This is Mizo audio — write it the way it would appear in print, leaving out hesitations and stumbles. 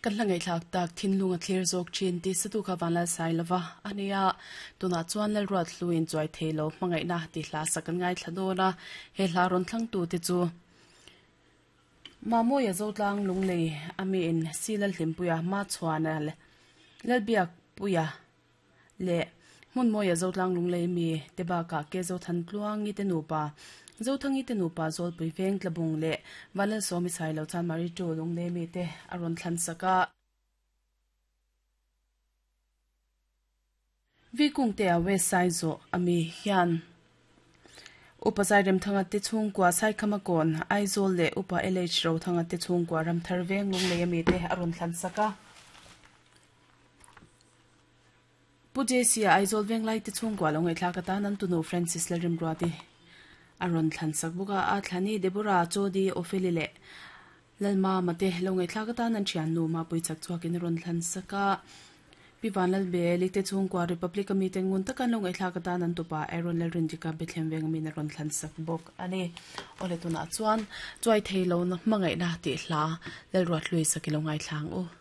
Kan hla ngaihthlak tak thinlung a thlir zawk thin tih satu kha Vanlal Sailova a ni a, tunah chuan Lalruat Hluin chuai thei lo hmangaihna tih hla sak an ngaithla dawn a, he hla rawn thlangtu te chu Mamawia Zotlang Lunglei a miin Silal Hlimpuia Machhuana Lalbiakpuia leh Hmunmawia Zotlang Lunglei mi te bakah ke Zothan Tluangi te nupa, Zothangi te nupa Zawlpui Veng Tlabung leh Vanlalsawmi Sailo Chanmari Tu Lunglei mi te a rawn thlan sak a. Vikungtea West Saizawh a mi hian Upa Zairemthanga te chhungkua Saikhama Kawn, Aizawl leh Upa LH Rothanga te chhungkua Ramthar Veng Lunglei a mi te a rawn thlan sak a. Pu JC-a Aizawl Venglai te chhungkua lo ngaihthlak atan an tunu Francis Lalrimruati a rawn thlan sak bawk a, a thlani Deborah, Jody, Opheli leh Lalmama te lo ngaihthlak atan an thiannu Mapui chak chhuakin a rawn thlan sak a. Pi Vanlalbeli te chhungkua Republic a mite ngun taka an lo ngaihthlak atan an tupa Aaron Lalrindika Bethlehem veng amin a rawn thlan sak bawk a ni. Awle tunah chuan chuai thei lohna hmangaihna tih hla Lalruathlui sak i lo ngaithla ang u.